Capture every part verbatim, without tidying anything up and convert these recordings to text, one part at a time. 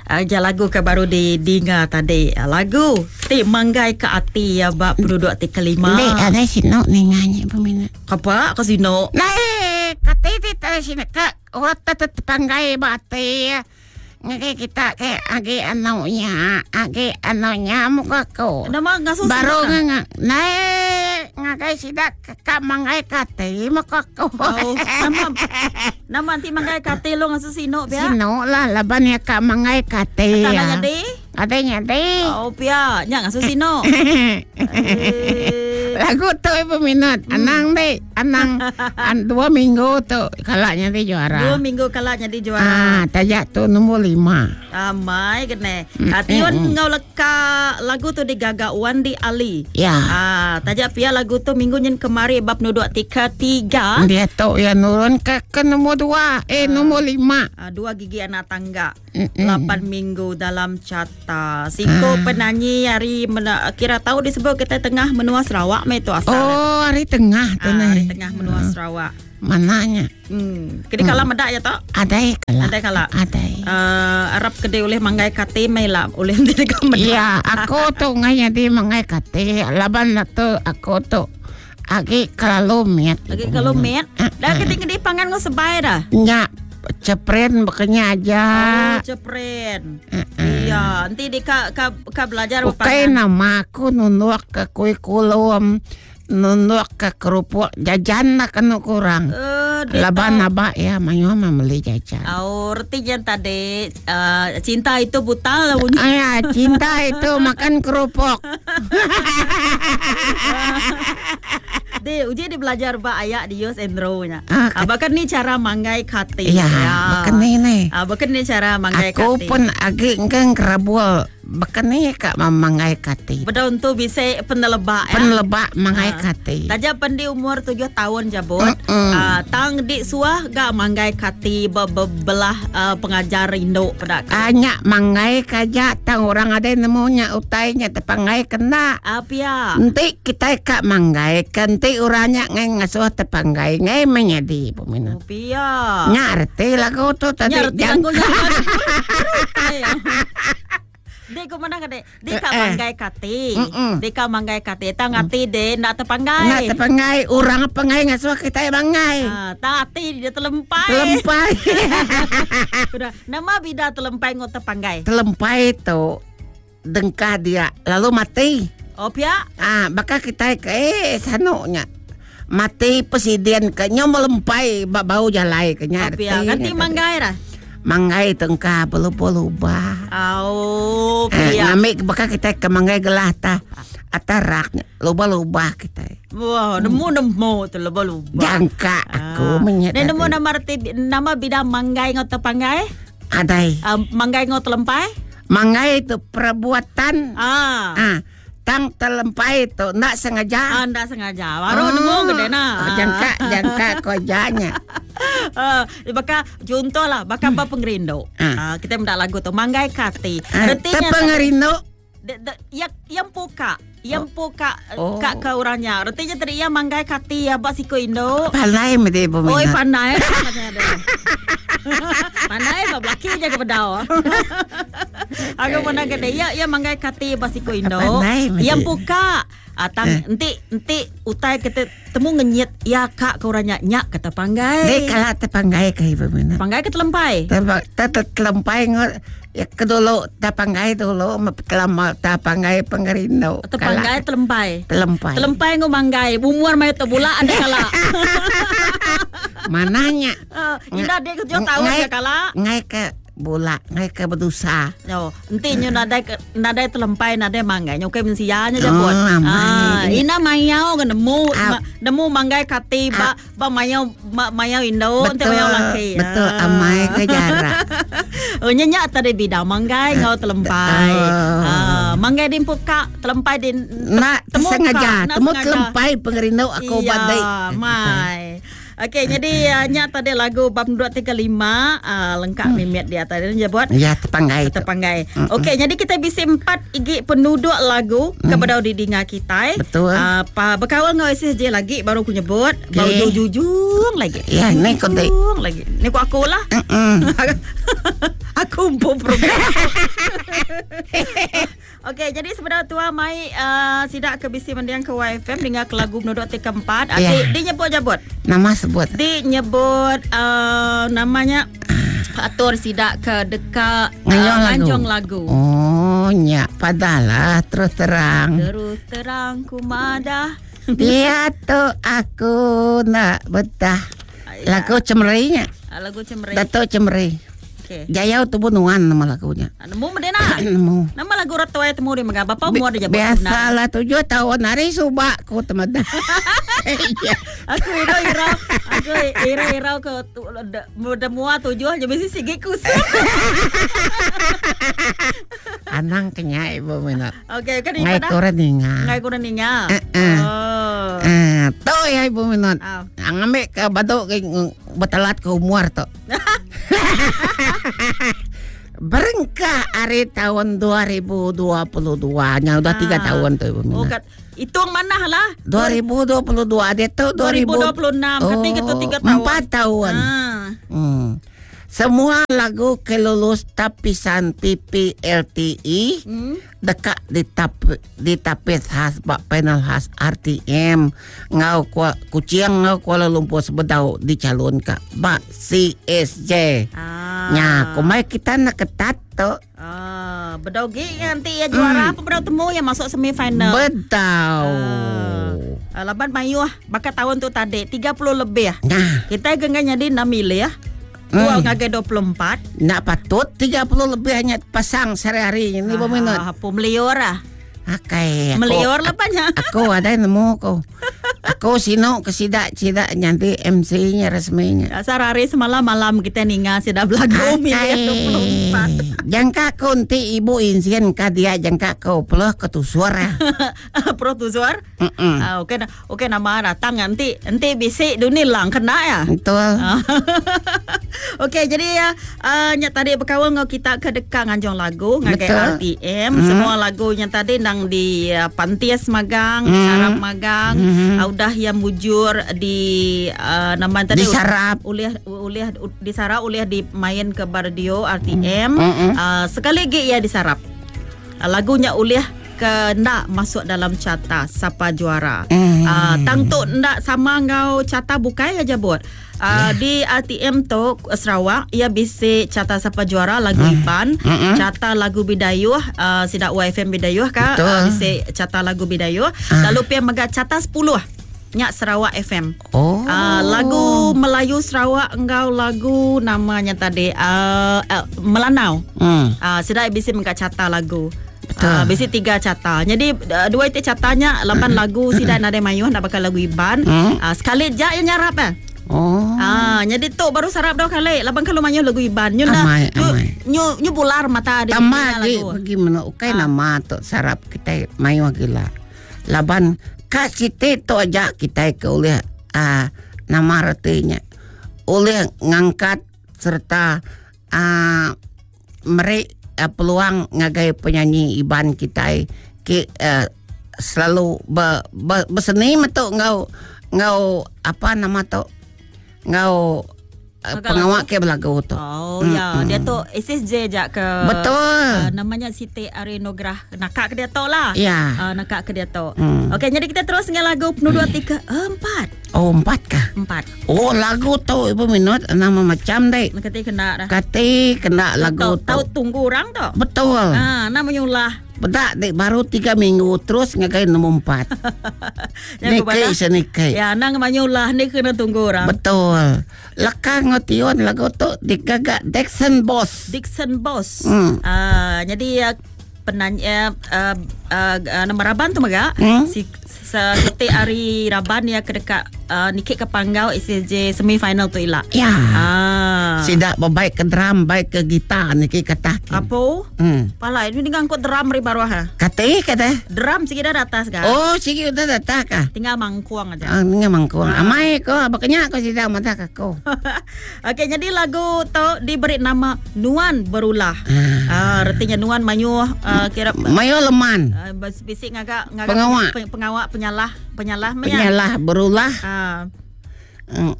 Aja lagu ke baru di dinga tadi. Lagu ti manggai ke ati ya bab penduduk ti kelima. Dek ada sino nenganya peminat. Apa ke sino? Nah, kata ti tadi sino ke orang tetep panggai bati. Ngagai kita ke agi anunya, agi anunya muka ko. Nama ngasuh baru ngang naik ngagai sidak ka manggai kate muka ko. Oh, nama nama nanti manggai kate lo ngasuh sino pia. Sino lah laban ya ka manggai kate. Tak nak jadi? Ada nyadi. Oh pia, nya ngasuh sino. Lagu tu peminat. Hmm. Anang deh, anang an, dua minggu tu kalaknya di juara. Dua minggu kalaknya di juara. Ah, tajak tu nombor lima. Amai kene. Mm. Ation mm. ngau leka lagu tu digaga Wandi Ali. Ya. Ah, tajak pia lagu tu minggu nyen kemari bab nuduk tiga tiga. Dia tu ya nurun ke ke nombor dua, eh ah. nombor lima. Ah, dua gigi anak tangga. Mm-mm. Lapan minggu dalam carta. Siko ah. penyanyi hari mena, kira tahu disebut kita tengah menua Sarawak me tu asal. Oh, hari tengah tu ah, hari tengah menua ah. Sarawak. Mananya? Hmm. Kedi hmm. kala medak ya tok? Ada kala. Ada kala. Ada. Uh, Arab kede oleh manggai kate mai lah oleh nanti ka medak. Iya, aku tu ngai jadi manggai kate laban tu aku tu agi kalalu met. Agi kalau met. Dah kedi kedi pangan ngau sebai dah. Nya. Cepren bekenya aja. Oh, cepren. Uh-uh. Iya, nanti di ka ka, ka belajar Bukan nama aku nunduk ke kuih kulum, nunduk ke kerupuk jajan lah kena kurang. Uh, Laban abak ya, mayu mah beli jajan. Oh, artinya tadi uh, cinta itu buta lah bunyi. Ah, ya, cinta itu makan kerupuk. Di uji di belajar ba ayak di Yos Endro nya. Ah, ah, bahkan ni cara manggai kate. Ya, ya. Bahkan ni ni. Ah, bahkan ni cara manggai aku kate. Aku pun agi engkang kerabul. Bahkan ni kak manggai kate. Betul untuk bisa penelebak ya. Penelebak manggai ah. kate. Taja pendi umur tujuh tahun jabut. Ah, tang di suah gak manggai kate bebelah uh, pengajar induk pada. Anyak manggai kaja tang orang ada nemunya utainya tepanggai kena. Ah, pia. Nanti kita kak manggai kanti orangnya ngai ngasuh tepanggai ngai menyadi peminat. Oh, pia. Ngerti lagu tu tadi. Ngerti lagu Dek ko mana kade? Dek ka manggai kate. Dek ka manggai kate. Tang ati de nak tepanggai. Nak tepanggai orang pangai ngasuh kita bangai. Ah, tang ati dia telempai. Telempai. Sudah. Nama bida telempai ngau tepanggai. Telempai tu dengkah dia lalu mati. Oh pia. Ah, bakal kita ke eh sanuknya. Mati presiden ke nyo melempai bau jalai ke nya. Oh, pia. Ganti manggai dah. Manggai tengkah perlu-perlu bah. Oh, pia. Eh, ngamik bakal kita ke manggai gelah ta. Atarak lubah-lubah kita. Wah, nemu nemu tu lubah-lubah. Jangka aku ah. menyet. Nemu nama reti nama bidang manggai ngau tepanggai? Adai. Uh, manggai ngau telempai? Manggai itu perbuatan. Ah. Ah. Tang telempai itu ndak sengaja. Ah, ndak sengaja. Baru oh, nemu gede nah. Oh, jangka jangka kojanya. Uh, baka contoh lah, baka apa pengerindu. Ah. Uh, kita mendak lagu tu manggai kati. Ah, Retinya pengerindu. Yang yang puka, yang puka Oh. kak ke orangnya. Retinya tadi yang manggai kati ya bak siko indo. Pandai mesti peminat. Oi pandai. Pandai bab laki je ke bedau. Aku pernah kena ya ya manggai kati bak siko indo. Pandai mesti. Yang puka. Ah, tang Eh. enti enti utai kita temu ngenyit ya kak ke orangnya nyak kata panggai. Dek kalau tepanggai ke ibu minat. Panggai ke telempai. Telempai ngot ya ke dulu tepanggai dulu lama tepanggai pengerindu. Tepanggai telempai. Telempai. Telempai ngau manggai. Umur mai tu bula anda kala. Mananya? Uh, ina dek tujuh tahun Ngai- ya kala. Ngai ke bola, ngai ke berdosa. Yo, enti nyu nadai ke- nadai telempai nadai manggai nyu ke mensia nya je Oh, pun. amai. Ah, ina mayau ke nemu Ah. ma, nemu manggai kati ba ba mayau ma, mayau indo enti Betul. mayau laki. Betul Ah. amai ke jarak. Oh, nya tadi bidang manggai ngau telempai. Oh. Ah, manggai di puka telempai di Nak temu sengaja, nak temu sengaja. telempai pengerindu aku Iya, badai. mai. Okey, jadi uh, nya tadi lagu bab dua tiga lima uh, lengkap hmm. mimit dia tadi dia buat. Ya tepanggai itu. Terpanggai. Okey, jadi kita bisa empat igi penduduk lagu mm. kepada didinga kita. Betul. Uh, pa berkawal ngau S S J lagi baru aku nyebut, Okey. baru jujung lagi. Ya, ni kau Jujung lagi. Ni ku aku lah. Mm-mm. Aku empu. ngempu program. Okey, jadi sebenarnya tua mai uh, sidak ke bisi mendiang ke Y F M dengan ke lagu menuduk ti keempat. Ya. Di, di nyebut jabut. Nama sebut. Di nyebut uh, namanya atur sidak ke dekat uh, Nganjung lagu. nganjung lagu. Oh, nya padalah terus terang. Terus terang ku madah. Dia tu aku nak betah. Ya. Lagu cemerinya. Ah, lagu cemeri. Datuk cemeri. Okey. Jayau tu bunuan nama lagunya. Ah, nemu medena. Nemu. Nama lagu ratuai temu dia megah. Bapa umur dia jabut. Biasalah tujuh tahun hari subak ku teman. Aku ira ira aku ira ira ke demua tujuh je mesti sigi kusuk. Anang kenyai ibu minat. Okey, kan Ngai ibu dah. kurang ninga. Ngai kurang ninga. Eh, eh. Oh. Ah, tu ya ibu minat. Ah. Ngambil ke baduk ke betelat ke umur tu. Berengkah hari tahun dua ribu dua puluh dua nya udah tiga Ah. tahun tu ibu Oh, minat. kat hitung mana lah? dua ribu dua puluh dua dia tu dua ribu dua puluh enam kata kita tiga tahun. Empat tahun. Ah. Hmm. Semua lagu kelulus tapisan P P L T I Hmm. dekat di tap di tapis khas bak panel khas R T M ngau kuala, Kuching ngau Kuala Lumpur sebedau dicalon ka bak C S J. Ah. Nya, kumai kita nak ketat tu. Ah, bedau gi nanti ya juara apa bedau temu yang masuk semifinal. Bedau. Ah, laban mayuh bakal tahun tu tadi tiga puluh lebih. Nah, Kita genggan jadi enam milih ya. Dua Hmm. ngagai dua puluh empat. nak patut tiga puluh lebih hanya pasang sehari-hari ini ah, minut. Ah, melior ah. Akai, aku, Melior lah banyak. Aku ada yang nemu aku. Aku sino ke sidak sidak nyanti M C-nya resminya. Asal hari semalam malam kita ninga sudah belagu milih dua puluh empat. Jangka aku nanti ibu insien ka dia jangka kau peluh ke tu suara. Pro tu suara. Mm-mm. Ah, okey okey nama datang nanti nanti bisik dunia lang kena ya. Betul. Okey, jadi ya uh, nyak tadi berkawan ngau kita ke dekat nganjung lagu ngagai Betul. R T M. Mm. Semua lagu yang tadi nang di uh, Pantias magang, Mm. Sarap magang, Mm. uh, udah yang mujur di uh, nama tadi Disarap. ulih ulih disarap ulih dimain ke radio R T M. Mm. Mm-mm. Uh, sekali lagi ia disarap. Uh, lagunya ulih ke ndak masuk dalam carta siapa juara. Mm. Uh, tang tu ndak sama ngau carta bukai aja buat. Uh, yeah. Di R T M tu Sarawak ia bisi carta siapa juara lagu mm. Iban, Mm-mm. carta lagu Bidayuh, uh, sidak Y F M Bidayuh ka, Betul. uh, bisi carta lagu Bidayuh. Ah. Lalu pia mega carta sepuluh nyak Sarawak F M. Oh. Uh, lagu Melayu Sarawak engkau lagu namanya tadi uh, uh, Melanau. Hmm. Uh, sidak bisi mega carta lagu. Betul. Uh, bisi tiga carta. Jadi uh, dua itu cartanya lapan lagu sidak nade mayuh nak bakal lagu Iban. Hmm. Uh, sekali jak yang nyarap eh. Oh. Ah, jadi tu baru sarap dah kali. Laban kalau mayuh lagu Iban. Nyu Amai, nyu, amai. nyu nyu bular mata dia Tambah lagi lagu. bagaimana ukai Ah. nama tu sarap kita mayuh gila. Laban ka siti tu aja kita ke oleh ah, nama retinya. Oleh ngangkat serta ah, meri ah, peluang ngagai penyanyi Iban kita ki ah, selalu be, be, berseni metu ngau ngau apa nama tu ngau ah, Ngau pengawak ke belagu tu. Oh ya, dia tu S S J jak ke Betul. Uh, namanya Siti Arinugrah nakak ke dia tu lah. Ya. Uh, nakak ke dia tu. Hmm. Okey, jadi kita terus dengan lagu penuh dua tiga empat. Oh empat kah? Empat. Oh lagu tu ibu minut nama macam deh. Kati kena dah. Kati kena lagu Tahu tahu tu. tunggu orang tu. Betul. Ah, namanya ulah. Bedak dek baru tiga minggu terus ngagai nombor empat. Yang Nikai senikai. Ya, nang namanya ulah ni kena tunggu orang. Betul. Lekang ngotion lagu tu digagak Dixon Boss. Dixon Boss. Hmm. Ah, jadi uh, penanya uh, uh, uh, nama Raban tu mega Hmm. si Siti Ari Raban ya ke dekat uh, nikik ke Panggau S S J semi final tu ila. Ya. Ah. Sidak baik ke drum, baik ke gitar niki kata. Apa? Hmm. Pala ini dengan angkut drum ri baruah ha. Kata kata. Drum sikit dah atas kan. Oh, sikit udah datang kah? Tinggal mangkuang aja. Ah, ni mangkuang. Amai ko, bakanya ko sidak mata ko. Okey, jadi lagu tu diberi nama Nuan Berulah. Ah. Ah, artinya Nuan mayuh uh, kira Mayo leman. uh, bisik ngagak ngagak Pengawak. peng- pengawak penyalah penyalah menya. Penyalah berulah. Ah.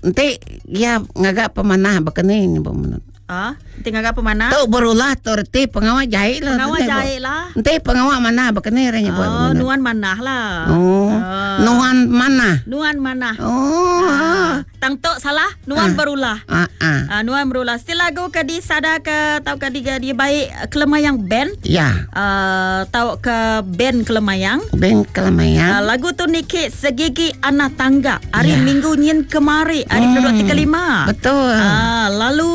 Nanti dia ngagak pemanah bekeni ni pemanah. Ah, tinggal apa mana? Tu berulah tu reti pengawa jahit lah. Pengawa jahit lah. Enti pengawa mana bekeni orang nyebut. Oh, nuan manah lah. Oh, Ah. nuan mana? Nuan manah. Oh. Ah. Tang tok salah, nuan Ah. berulah. Ah, ah. Ah, nuan berulah. Still lagu ke di sada ke tau ke di dia baik Kelemayang band. Ya, Uh, tau ke band Kelemayang. band Uh, Kelemayang. lagu tu nikit segigi anak tangga hari Ya. Minggu nyin kemari hari Hmm, hmm. tiga lima. Betul. Ah, lalu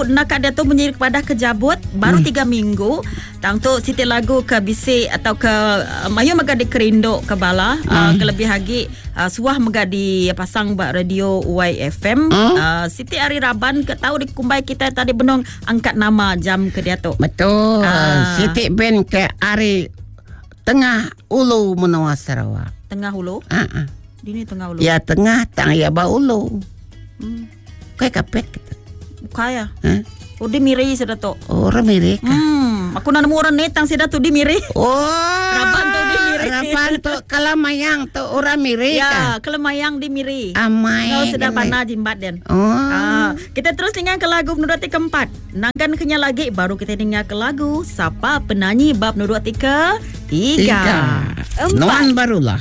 nak dia tu menjadi kepada kejabut baru hmm. tiga minggu. Tang tu siti lagu ke bisik atau ke uh, mayu mega dikerinduk ke bala hmm. uh, kelebih lagi uh, suah mega dipasang ba radio Y F M. Hmm. Uh, siti hari Raban ke tahu di kumbai kita tadi benong angkat nama jam ke dia tu. Betul. Ah. Siti band ke hari tengah ulu menua Sarawak. Tengah hulu. Ah, ah. Dini tengah hulu. Ya tengah tang ya ba ulu. Hmm. Kayak kapet kita. Bukan ya. Hah? Oh, di miri sudah tu. Orang mirip. Hmm, aku nak nemu orang ni tang sida tu di miri. Oh. Raban tu di miri. Raban tu kalamayang tu orang mirip. Ya, kelemayang di miri. Amai. Kau sudah kena. panah jimbat den. Oh. Ah, kita terus dengar ke lagu menurut tiga keempat. Nangkan kenya lagi baru kita dengar ke lagu Sapa Penyanyi bab menurut tiga tiga. Tiga. Empat. Nuan barulah.